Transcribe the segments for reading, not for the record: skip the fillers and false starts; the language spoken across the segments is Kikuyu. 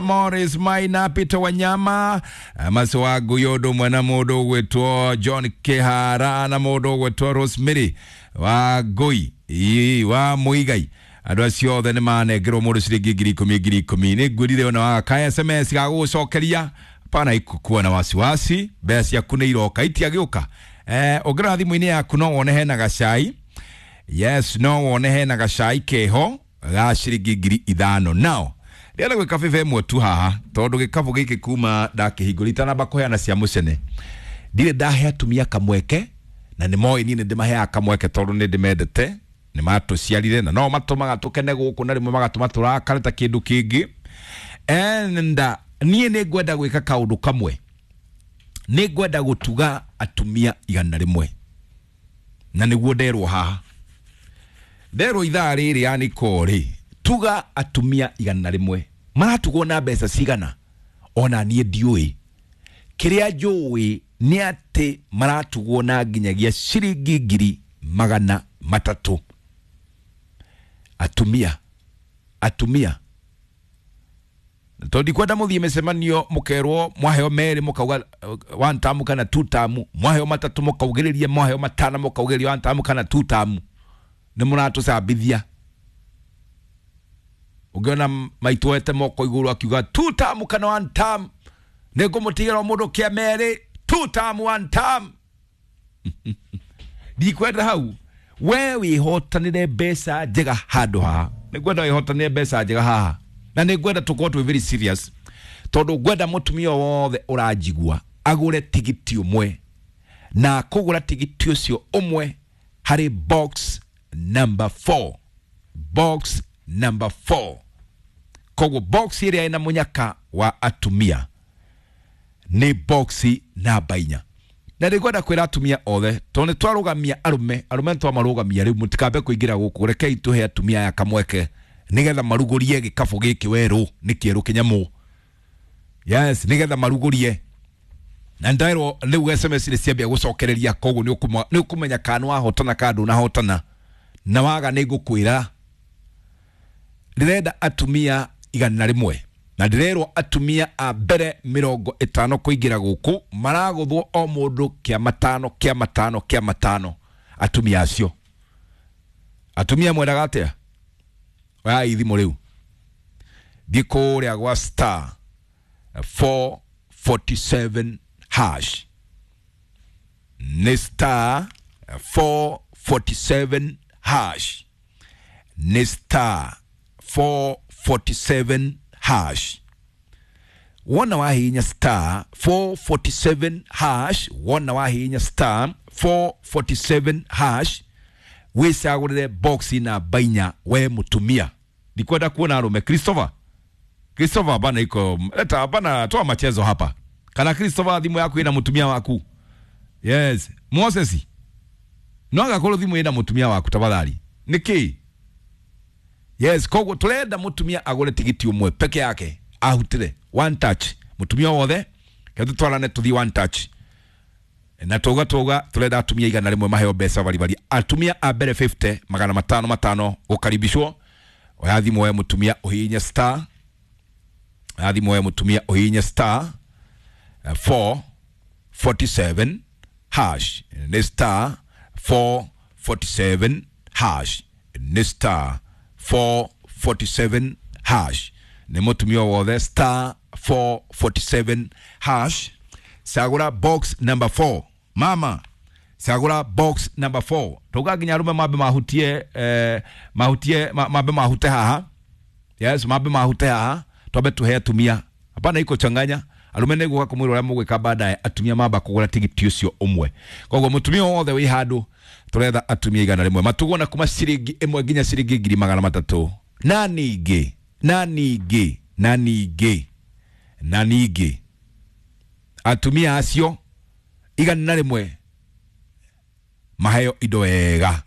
Morris Maina, Peter Wanyama, Maso Guyodo mwana mundu gwitwo John Kihara na mundu gwitwo Rosemary wa Ngui wa Muigai. Andũ acio othe nĩ manengerwo mũndũ ciringi 10,000 10,000. Nĩ ngwĩrire ona waka SMS ga gũgũcokeria pana ikukuwa na wasiwasi, mbeca ciaku nĩ iroka itiagĩũka. Ũngĩrora thimũ-inĩ yaku no wone hena gacai. Yes, no wone hena gacai keho ga ciringi 5,000. Nao ndĩrenda gwĩka bĩba ĩmwe tu haha tondũ gĩkabũ gĩkĩ kuma ndakĩhingũra itanamba kũheana cia mũcene ndirĩ ndahe atumia kamweke, na nĩ moĩ niĩ nĩ ndĩmaheaga kamweke tondũ nĩ ndĩmendete, nĩ matũciarire na no matũmaga tũkene gũkũ na rĩmwe magatũma tũrakare ta kĩndũ kĩngĩ. And niĩ nĩ ngwenda gwĩka kaũndũ kamwe, nĩ ngwenda gũtuga atumia 100, na nĩguo nderwo haha, nderwo ithaa rĩrĩ yani korĩ tuga atumia 100 maratugwo na mbeca cigana, ona niĩ ndiũĩ. Kĩrĩa njũĩ nĩ atĩ maratugwo na nginyagia ciringi 300,000. Atumia, atumia, tondũ ndikwenda mũthiĩ mĩcemanio mũkerwo mwaheo 2 mũkauga 1 term kana 2 term, mwaheo 3 mũkaugĩrĩria, mwaheo 5 mũkaugĩrĩria 1 term kana 2 term. Nĩ mũratũcambithia. Ũngĩona maitũ ete moko igũrũ akiuga 2 term kana 1 term, nĩ ngũmũtigĩra mũndũ kĩa 2, 2 term 1 term. Ndikwenda hau. We wĩhotanĩre mbeca njega handũ haha. Nĩ ngwenda wĩhotanĩre mbeca njega haha, na nĩ ngwenda tũkorwo twĩ very serious, tondũ ngwenda mũtumia wothe ũranjigua agũre tigiti ũmwe, na kũgũra tigiti ũcio ũmwe harĩ box number 4. Box number 4. Koguo box ĩrĩa ĩna mũnyaka wa atumia nĩ box namba 4. Na nĩngwenda kwĩra atumia othe, tondũ nĩ twarũgamia arũme, arũme nĩtwamarũgamia rĩu, mũtikambe kũingĩra gũkũ, rekei tũhe atumia aya kamweke nĩgetha marugũrie gĩkabũ gĩkĩ werũ, nĩ kĩerũ kĩnyamũ. Yes, nĩgetha marugũrie. Na nderwo rĩu SMS nĩ ciambia gũcokereria, koguo nĩ ũkũmenya kana nĩwahotana kana ndũnahotana, na waga nĩ ngũkwĩra. Ndĩrenda atumia 100, na ndĩrerwo atumia a mbere 50 kũingĩra gũkũ maragũthwo o mũndũ kĩa 5 kĩa 5 kĩa 5. Atumia acio, atumia mwendaga atĩa? Oya ithimo rĩu, thiĩ kũrĩa gwa star 447 hash, nĩ star 447 hash, nĩ star 447 hash. Wona wahinya star 447 hash, wona wahinya star 447 hash, wicagũrĩre box namba 4 we mũtumia. Ndikwenda kuona arũme. Christopher, Christopher bana iko leta bana, toa machezo hapa. Kana Christopher thimu yaku ina mũtumia waku? Yes, Moses, no agakorwo thimu ina mũtumia waku tafadhali. Niki? Yes, koguo turenda mũtumia agũre tigiti ũmwe peke yake, ahutire one touch. Mũtumia wothe kethu twarane tuthi one touch. Na tuga turenda atumia 100 maheo mbeca baribari. Atumia a mbere 50 500 500 gũkaribishwo. Oya thimũ we mũtumia ũhihinye star, oya thimũ we mũtumia ũhihinye star 447 hash, nĩ star 447 hash, nĩ star 447 hash. Nĩ mũtumia wothe star 447 hash, cagũra box number 4. Mama, cagũra box number 4. Tauga nginya arũme mambe mahutie, mahutie mambe mahute haha. Yes, mambe mahute haha, twambe tuhe atumia. Hapana iko changanya. Arũme nĩ gũka kũmwĩra ũrĩa mũgwĩka baadaye, atumia mamba kũgũra tigiti ũcio ũmwe. Koguo mũtumia wothe wĩ handũ tũretha atumia 100 matugwo na kuma ciringi 1 nginya ciringi 300,000. Na ningĩ, na ningĩ, na ningĩ, na ningĩ atumia acio 100 maheo indo wega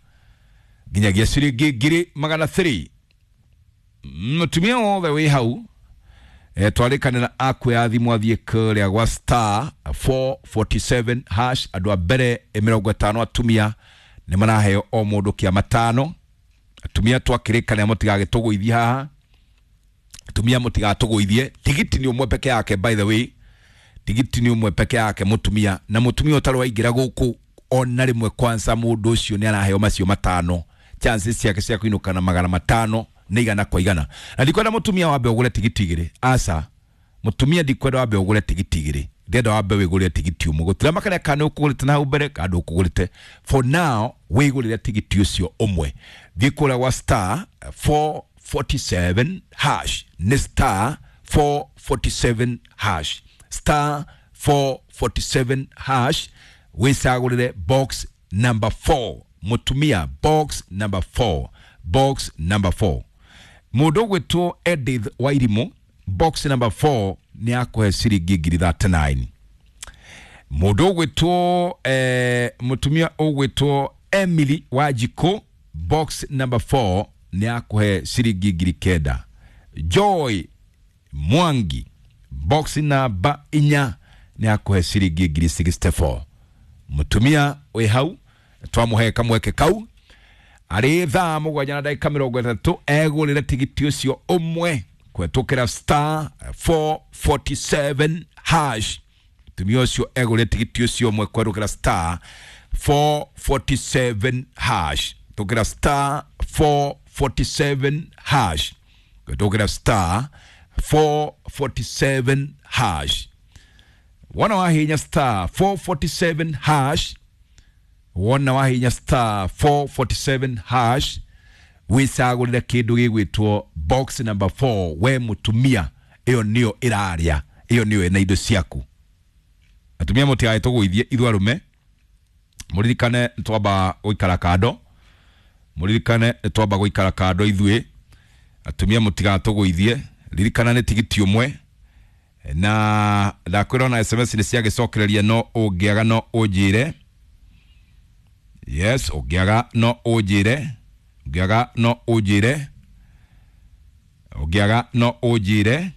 nginyagia ciringi 300,000. Mũtumia wothe wĩ hau twarĩkanĩra akuoya thimũ athiĩ kũrĩa gwa star 447 hash. Andũ a mbere 50 atumia nĩ maraheo o mũndũ kĩa 5. Atumia twakĩrĩkanĩra mũtigagĩtũgũithie haha. Tumia mutigatũgũithie. Tigiti ni ũmwe peke yake, by the way, tigiti ni ũmwe peke yake mutumia, na mutumia ũtarĩ waingĩra gũkũ ona rĩmwe kwanza mũndũ ũcio nĩ araheo macio matano, chances ciake cia kũinũka na 500 nĩ 100 kwa 100. Na ndikwenda mutumia wambe ũgũre tigiti igĩrĩ, aca mutumia ndikwenda wambe ũgũre tigiti igĩrĩ, ndĩrenda wambe wĩgũrĩre tigiti ũmwe, gũtirĩ makana kana ũkũgũrĩte na hau mbere kana ndũkũgũrĩte. For now wĩgũrĩre tigiti ũcio ũmwe, thiĩ kũrĩa gwa star 447 hash, nĩ star 447 hash, star 447 hash, wĩcagũrĩre box number 4 mutumia, box number 4, box number 4. Mũndũ ũgwĩtwo Edith Wairimu, box number 4 nĩ akũhe ciringi 39,000. Mũndũ ũgwĩtwo mũtumia ũgwĩtwo Emily Wanjikũ, box number 4 nĩ akũhe ciringi 9,000. Joy Mwangi, box namba 4 nĩ akũhe ciringi 64,000. Mũtumia wĩ hau twamũhe kamweke kau arĩ thaa 7:30 egũrĩre tigiti ũcio ũmwe kũhetũkĩra star 447 hash. Mũtumia ũcio egũrĩre tigiti ũcio ũmwe kũhetũkĩra star 447 hash, tũkĩra star 447 hash, kũhetũkĩra star 447 hash. Wona wahinya star 447 hash, wona wahinya star 447 hash, wicagũrĩre kĩndũ gĩgwĩtwo box number 4 we mũtumia, ĩyo nĩyo ĩraria, ĩyo nĩyo ĩna indo ciaku. Atumia mũtigae tũgũithie ithuĩ arũme, mũririkane twamba gũikara kando, mũririkane twamba gũikara kando ithuĩ atumia, mũtigatũgũithie. Ririkana nĩ tigiti ũmwe, na ndakwĩra ona SMS nĩ ciagĩcokereria, no ũngĩaga no ũnjĩre. Yes, ũngĩaga no ũnjĩre, ũngĩaga no ũnjĩre, ũngĩaga no ũnjĩre,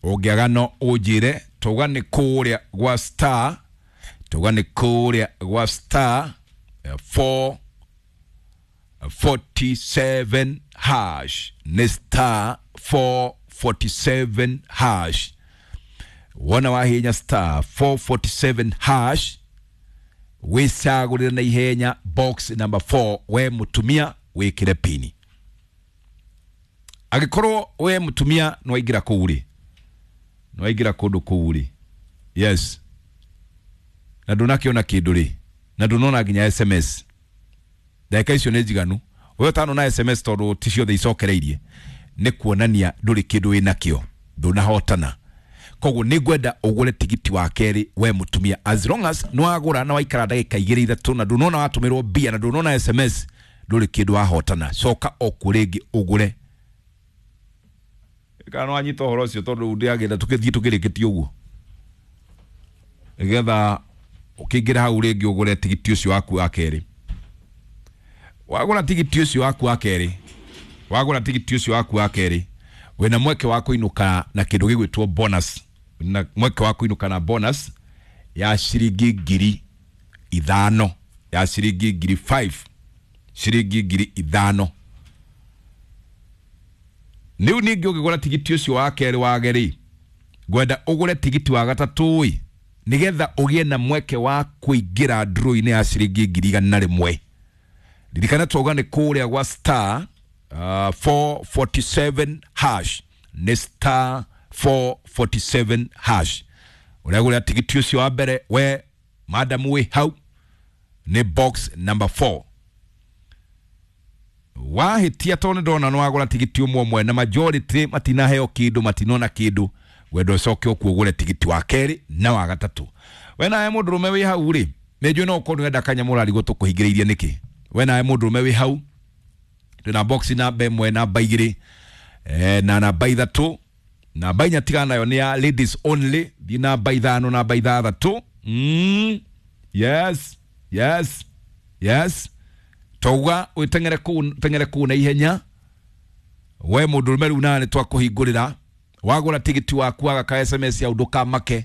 ũngĩaga no ũnjĩre. Tauga nĩ kũrĩa gwa star, tauga nĩ kũrĩa gwa star 447 hash, nĩ star 447 hash. Wona wahinya star 447 hash, wĩcagũrĩre na ihenya box number 4 we mũtumia, wĩkĩre pini. Angĩkorwo we mũtumia nĩwaingĩra kũu rĩ, nĩwaingĩra kũndũ kũu rĩ, yes, na ndũnakĩona kĩndũ rĩ, na ndũnona nginya SMS, ndagĩka icio nĩ njiganu. We ũtanona SMS tondũ ti ciothe icokereirie, nĩ kuonania ndũrĩ kĩndũ wĩnakĩo, ndũnahotana. Koguo nĩ ngwenda ũgũre tigiti wa kerĩ we mũtumia, as long as nĩ wagũra na waikara ndagĩka igĩrĩ ithatũ na ndũnona watũmĩrwo mbia na ndũnona SMS, ndũrĩ kĩndũ wahotana. Coka o kuo rĩngĩ ũgũre. Kana nĩ wanyita ũhoro ũcio, tondũ ndĩragĩenda tũkĩthiĩ tũkĩrĩkĩtie ũguo, nĩgetha ũkĩingĩra hau rĩngĩ ũgũre tigiti ũcio waku wa kerĩ. Wagũra tigiti ũcio waku wa kerĩ, wagũra tigiti ũcio waku wa kerĩ, wĩna mweke wa kũinũka na kĩndũ gĩgwĩtwo bonus, na mweke wa kũinũka na bonus ya ciringi 5,000, ya ciringi 5,000, ciringi 5,000. Rĩu ningĩ ũngĩgũra tigiti ũcio wa kerĩ wage rĩ, ngwenda ũgũre tigiti wa gatatũ ĩ, nĩgetha ũgĩe na mweke wa kũingĩra draw-inĩ ya ciringi 101,000. Ririkana twauga nĩ kũrĩa gwa star 447 hash, nĩ star 447 hash. Ũragũra tigiti ũcio wa mbere we madam wĩ hau, nĩ box number 4. Wahĩtia tondũ nĩ ndona nĩ wagũra tigiti ũmwe ũmwe na majority matinaheo kĩndũ, matinona kĩndũ, wenda ũcoke ũkuo ũgũre tigiti wa kerĩ na wa gatatũ. We nawe mũndũrũme wĩ hau rĩ, nĩ njũĩ no ũkorwo nĩwenda kanyamũ ũrarigwo tũkũhingĩrĩirie nĩkĩ. We nawe mũndũrũme wĩ hau, twĩna box namba 1, namba 2, na namba 3, namba 4 tigana nayo nĩ ya ladies only, thiĩ namba 5, namba 6. Yes, yes, yes. Tauga wĩteng'ere kũu, teng'ere kũu na ihenya. We mũndũrũme rĩu nawe nĩtwakũhingũrĩra, wagũra tigiti waku waga ka SMS ya ndũkamake.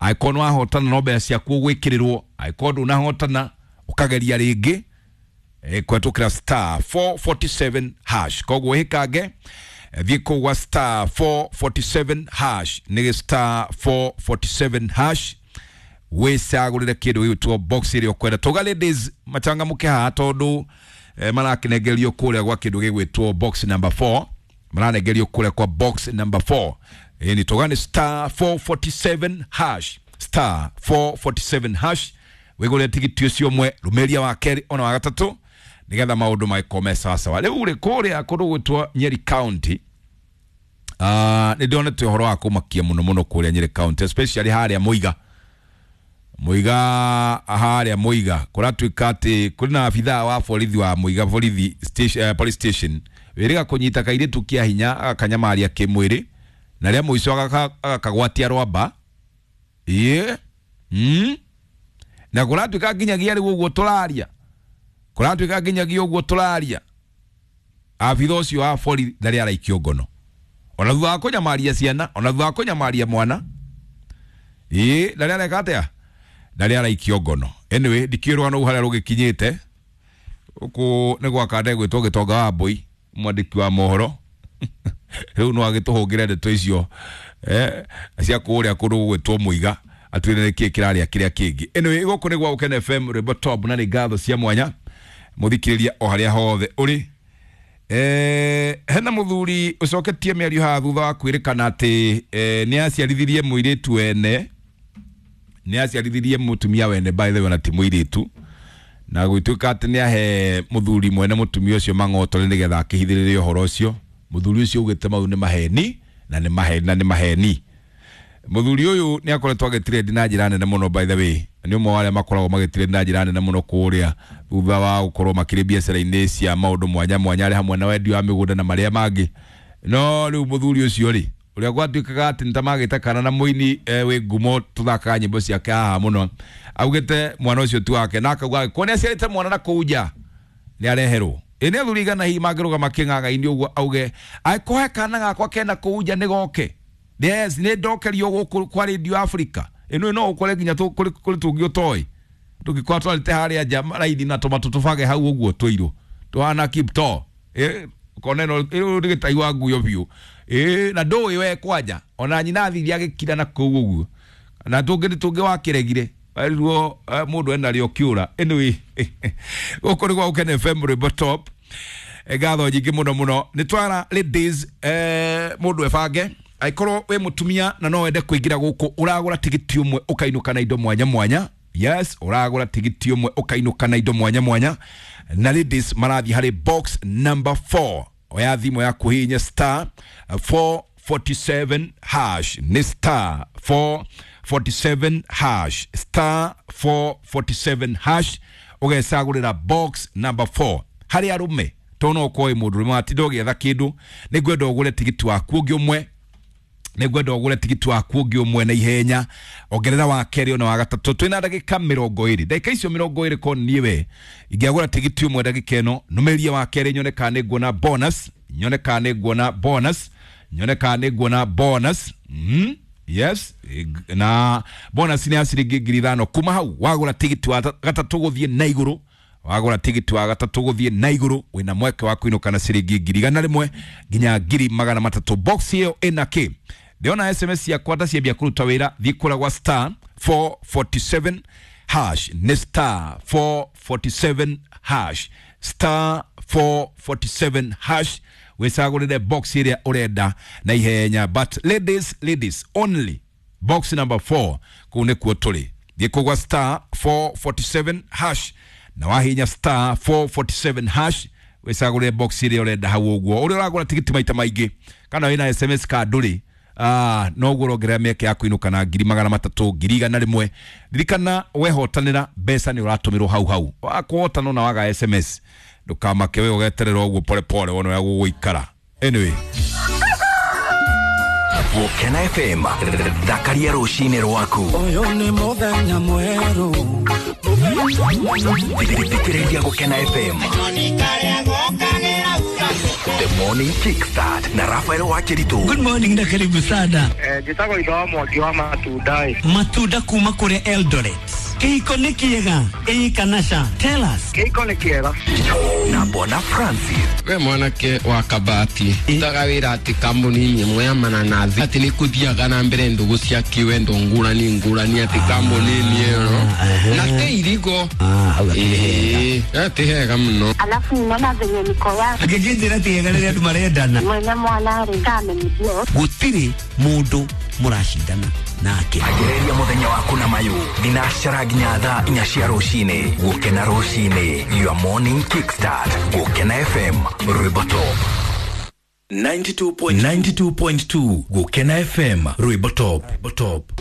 Angĩkorwo nĩwahotana no mbeca ciaku ũgwĩkĩrĩrwo, angĩkorwo ndũnahotana ũkageria rĩngĩ. Kwetukira star 447 hash. Koguo hikange thiĩ kũu gwa star 447 hash, nĩ star 447 hash wĩcagũrĩre kĩndũ gĩgwĩtwo box ĩrĩa ũkwenda. Tũga ladies machangamũke haha tondũ marakinengerio kũrĩa gwa kĩndũ gĩgwĩtwo box number 4, maranengerio kũrĩa kwa box number 4. Ni tũga nĩ star 447 hash, star 447 hash wĩgũrĩre tigiti ũcio ũmwe, rũmĩria wa kerĩ ona wa gatatũ nigetha maũndũ magĩkorwo me sawasawa. Rĩu rĩ kũrĩa kũndũ gwĩtwo Nyeri County, nĩ ndonete ũhoro wa kũmakia mũno mũno kũrĩa Nyeri County, especially harĩa Muiga. Muiga harĩa Muiga kũratuĩka atĩ kũrĩ na abithaa wa borithi wa Muiga borithi station, police station wĩrĩga kũnyita kairĩtu kĩa hinya agakanyamaria kĩmwĩrĩ na rĩa mũico agakagwatia rwamba. Ĩĩ na kũratuĩka nginyagia rĩu ũguo tũraria, kũratuĩka nginyagia ũguo tũraria abitha ũcio wa borithi ndarĩ araikio ngono ona thutha wa kũnyamaria ciana, ona thutha wa kũnyamaria mwana. Ĩĩ ndarĩ areka atĩa, ndarĩ araikio ngono. Anyway, ndikĩũĩ rũgano rũu harĩa rũgĩkinyĩte. Gũkũ nĩ gwa kande gwĩtwo Gĩtonga wa Mbũi, mwandĩki wa mohoro. Rĩu no agĩtũhũngĩre ndeto icio cia kũrĩa kũndũ gũgwĩtwo Mũiga, atwĩre nĩkĩĩ kĩrarĩa kĩrĩa kĩngĩ. Anyway, gũkũ nĩ gwa Gũkena FM, rwĩmbo top, na nĩ ngatho cia mwanya mũthikĩrĩria o harĩa hothe ũrĩ. Hena mũthuri ũcoketie mĩario haha thutha wa kwĩrĩkana atĩ nĩ aciarithirie mũirĩtu wene, nĩ aciarithirie mũtumia wene, by the way, ona ti mũirĩtu, na gũtuĩka atĩ nĩ ahe mũthuri mwene mũtumia ũcio mang'otore nĩgetha akĩhithĩrĩre ũhoro ũcio. Mũthuri ũcio augĩte mau nĩ maheni na nĩ maheni na nĩ maheni. Mũthuri ũyũ nĩ akoretwo agĩtrend na njĩra nene mũno, by the way, nĩ ũmwe wa arĩa makoragwo magĩtrend na njĩra nene mũno kũrĩa thutha wa gũkorwo makĩrĩ biacara-inĩ cia maũndũ mwanya mwanya, arĩ hamwe na wendia wa mĩgũnda na marĩa mangĩ. No rĩu mũthuri ũcio rĩ, ũrĩa gwatuĩkaga atĩ nĩ ta magĩte kana na mũini wĩ ngumo tũthakaga nyĩmbo ciake haha mũno, augĩte mwana ũcio ti wake, na akauga angĩkorwo nĩ aciarĩte mwana na kũu nja nĩ areherwo. Ĩ nĩ athuri igana hihi mangĩrũgama kĩng'ang'a-inĩ ũguo auge angĩkorwo he kana gakwa kena kũu nja nĩ goke, yes, nĩ ndokerio gũkũ kwa Radio Africa. Ĩno no ũkore nginya kũrĩ tũngĩ ũtoĩ tũngĩkorwo twarĩte harĩa nja raithi na tũmatũ tũbage hau ũguo tũirũ tũhana kipto, ũkona ĩno ĩno nĩ gĩtai wa nguyo biũ. Na ndũĩ we kwanja ona nyina athire agĩkira na kũu ũguo, na tũngĩ nĩ tũngĩ wakĩregire ruo mũndũ enarĩo kĩũra. Anyway, gũkũ nĩ gwa Gũkena FM, rwĩmbo top. Ngatho nyingĩ mũno mũno. Nĩ twara ladies, mũndũ ebange angĩkorwo wĩ mũtumia na no wende kũingĩra gũkũ, ũragũra tigiti ũmwe ũkainũka na indo mwanya mwanya. Yes, ũragũra tigiti ũmwe ũkainũka na indo mwanya mwanya, na ladies marathiĩ harĩ box number 4. Oya thimũ yaku hihinya star 447 hash, nĩ star 447 hash, star 447 hash, ũgecagũrĩra box number 4. Harĩ arũme tondũ no ũkorwo wĩ mũndũ ũrũme watinda ũgĩetha kĩndũ, nĩ ngwenda ũgũre tigiti waku ũngĩ ũmwe, nĩ ngwenda ũgũre tigiti waku ũngĩ ũmwe na ihenya, ongerera wa kerĩ ona wa gatatũ. Twĩna ndagĩka 20, ndagĩka icio 20 ko niĩ we ingĩagũra tigiti ũmwe ndagĩka ĩno, nũmĩrie wa kerĩ nyone kana nĩ nguona bonus, nyone kana nĩ nguona bonus, nyone kana nĩ nguona bonus. Yes, na bonus nĩ ya ciringi 5,000. Kuma hau wagũra tigiti wa gatatũ gũthiĩ na igũrũ, wagũra tigiti wa gatatũ gũthiĩ na igũrũ wĩna mweke wa kũinũka na ciringi 100,000 nginya 300,000. Box ĩyo ĩna kĩ? Ndĩrona SMS yakwa ta ciambia kũruta wĩra, thiĩ kũrĩa gwa star 447 hash, nĩ star 447 hash, star 447 hash, wĩcagũrĩre box ĩrĩa ũrenda na ihenya. But ladies, ladies only, box number 4 kũu nĩkuo tũrĩ. Thiĩ kũu gwa star 447 hash, na wahinya star 447 hash wĩcagũrĩre box ĩrĩa ũrenda hau ũguo. Ũrĩa ũragũra tigiti maita maingĩ kana wĩna SMS ka ndũrĩ, no ũguo ũrongerera mĩeke ya kũinũka na 300,000, 100,000. Ririkana wehotanĩra mbeca nĩ ũratũmĩrwo hau hau. Wakũhotana na waga SMS ndũkamake, we ũgeterera ũguo pole pole wone ũrĩa gũgũikara. Anyway, Gũkena FM, thakaria rũcinĩ rwaku. Ũyũ nĩ mũthenya mwerũ. Thikĩrĩria Gũkena FM. The Morning Kickstart na Rafael Wakiritu. Good morning na karibu sana. Njĩtagwo Ithe wa Mwangi wa matunda ĩ. Matunda kuma kũrĩa Eldoret. Kĩhiko nĩ kĩega, ĩĩ kana ca? Tell us. Kĩhiko nĩ kĩega. Na Bwana Francis. We mwanake wa kabati utaga wĩra atĩ kambuni-inĩ ĩmwe ya mananathi atĩ nĩ kũthiaga na mbere ndũgũ cia kĩwendo ngũrani ngũrani atĩ kambuni-inĩ ĩyo na te irigo. Hau akĩrĩ hega. Ĩĩ, ti hega mũno. Alafu ninaona venye niko yake Angĩkĩnjĩra ti hega rĩrĩa andũ marendana. Mwene mwana rĩ kamenyithio. Gũtirĩ mũndũ mũracindana nake. Ambĩrĩria mũthenya waku na mayũ thinacara nginya thaa 4 cia rũcinĩ. Gũkena rũcinĩ, your morning kickstart. Gũkena FM, rwĩmbo top. 92.2 Gũkena FM, rwĩmbo top. Top.